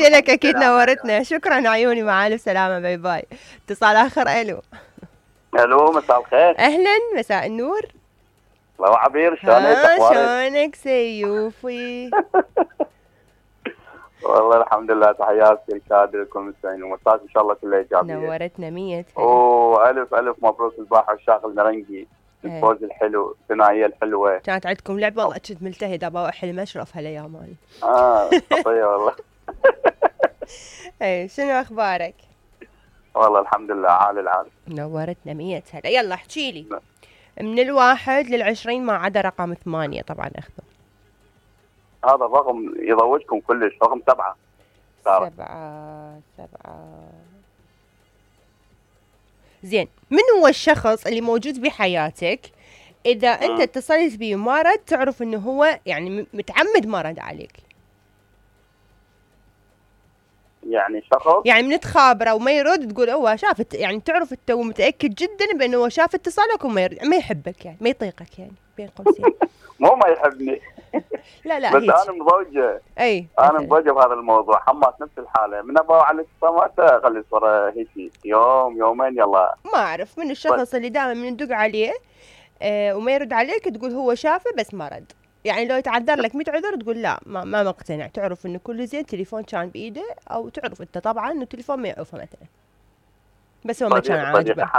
تحياتي لك، اكيد نورتنا. شكرا عيوني، مع الف سلامه، باي باي. اتصال اخر. الو الو، مساء الخير. اهلا، مساء النور. الله عبير، شلونك؟ اخبارك؟ شلونك سيوفي؟ والله الحمد لله. تحياتي للكادر لكم المستمعين، ومساك ان شاء الله كلها ايجابيه. نورتنا 100. والف الف مبروك الباحة الشاغل المرنجي، الفوز الحلو، الثنائيه الحلوه. كانت عندكم لعبه، والله كنت ملتهده، بروح المشرف هالايام مالي. خطيه والله. اي، شنو اخبارك؟ والله الحمد لله، عال العال. نورتنا 100 هلا. يلا احكي لي. من 1 ل20 ما عدا رقم 8 طبعا اخذه. هذا الرقم يضوجكم كلش، رقم 7. 7. زين، من هو الشخص اللي موجود بحياتك اذا انت اتصلت بيه وما رد تعرف انه هو يعني متعمد ما رد عليك؟ يعني شخص يعني من تخابره وما يرد تقول هو شافت، يعني تعرف انت ومتاكد جدا بانه هو شاف اتصالك وما ما يحبك، يعني ما يطيقك، يعني بين قوسين. مو ما يحبني. لا بس انا مضوجه. اي انا مضوجه بهذا الموضوع، حماس نفس الحاله، من ابغى على الاتصالات اخلي صوره هيك يوم يومين يلا. ما اعرف من الشخص اللي دائما من ندق عليه وما يرد عليك تقول هو شافه بس ما رد. يعني لو يتعذر لك 100 عذر تقول لا ما مقتنع، تعرف انه كل زين تليفون كان بايده، او تعرف انت طبعا انه التليفون ما يعوفه مثلا، بس هو ما كان عاجبه.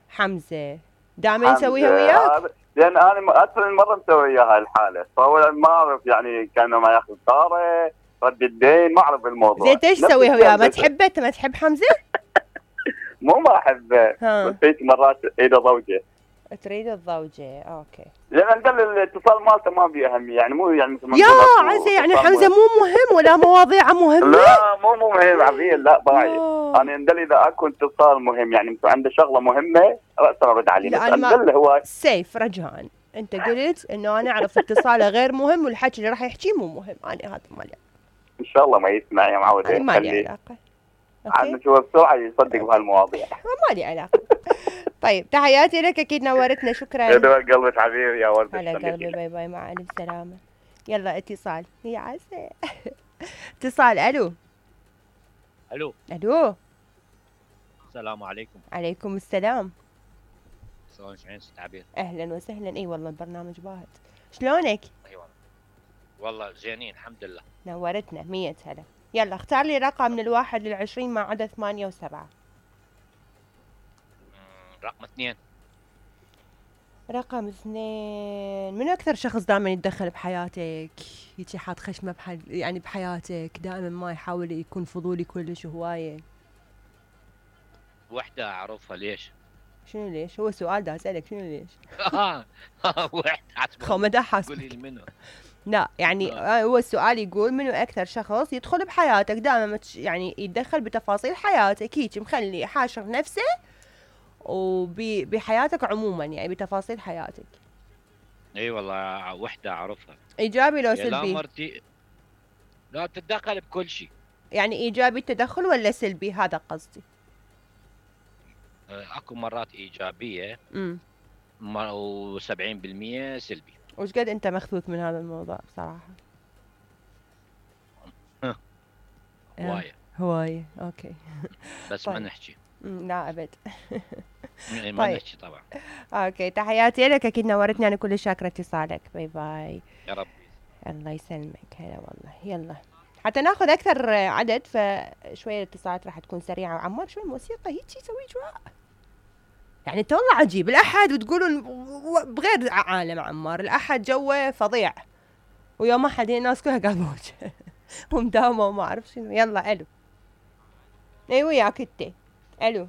حمزه دائما يسويها وياك؟ لان انا اكثر من مره مسوي وياه هاي الحاله، فهو ما اعرف يعني كانه ما ياخذ طاره رد الدين، ما اعرف الموضوع. زين ايش تسويها وياه؟ ما تحبه؟ انت ما تحب حمزه؟ مو ما احبه، بس هيك مرات ايده ضوجه. تريد الضوجه، اوكي. لان الاتصال مالته ما بيه اهميه، يعني مو يعني مثل يا عزي، يعني حمزه مو مهم ولا مواضيعه مهمه؟ لا مو مهم عبير، لا ضايع. انا اندل اذا اكو اتصال مهم، يعني مثل عنده شغله مهمه راسا ارد عليه، بس اندل هو سيف رجهان. انت قلت انه انا اعرف اتصاله غير مهم والحكي اللي راح يحكيه مو مهم، انا هذا مالي. ان شاء الله ما يسمع يا معود. ما لي علاقه. عاد شو بسرعه يصدق بهالمواضيع. ما لي علاقه. طيب تحياتي لك، اكيد نورتنا. شكرا. يدوى قلبك حبيبي يا ولد. هلا قلبي، باي باي، مع الف سلامه. يلا اتصال يا عسى. اتصال. الو الو. السلام عليكم. عليكم السلام. شلونك ست عبير؟ اهلا وسهلا. اي والله البرنامج باهت. شلونك؟ ايوه والله زينين الحمد لله. نورتنا 100 هلا. يلا اختار لي رقم من 1 ل20 ما عدا 8 و7. رقم 2. رقم 2. من اكثر شخص دائما يتدخل بحياتك، يجي حاط خشمه يعني بحياتك، دائما ما يحاول يكون فضولي كلش وهوايه؟ وحده اعرفها. ليش؟ شنو ليش؟ هو سؤال دا اسالك شنو ليش؟ وحده خمدة حاسب. قولي لي منو. لا يعني هو السؤال يقول منو اكثر شخص يدخل بحياتك دائما يعني يتدخل بتفاصيل حياتك، هيك مخلي حاشر نفسه وبحياتك عموما، يعني بتفاصيل حياتك. اي والله وحده اعرفها. ايجابي لو سلبي؟ لا مرتي لا تتدخل بكل شيء. يعني ايجابي التدخل ولا سلبي؟ هذا قصدي. اكو مرات ايجابيه و70% سلبي. وش قد انت مخذوث من هذا الموضوع بصراحه؟ هوايه اوكي. بس طيب. ما نحكي. لا ابد. ما نحكي طبعا. اوكي تحياتي لك، اكيد نورتني، انا كل شاكره اتصالك. باي باي. يا رب. الله يسلمك. هلا والله. يلا حتى ناخذ اكثر عدد، فشويه الاتصالات راح تكون سريعه. وعمار شو الموسيقى هيك يسوي جواء، يعني انت والله عجيب. الاحد وتقولون بغير عالم عمار، الاحد جوه فظيع، ويوم احد الناس كلها قابوج ومداومه وما اعرف شنو. يلا الو. اي وياك انت. الو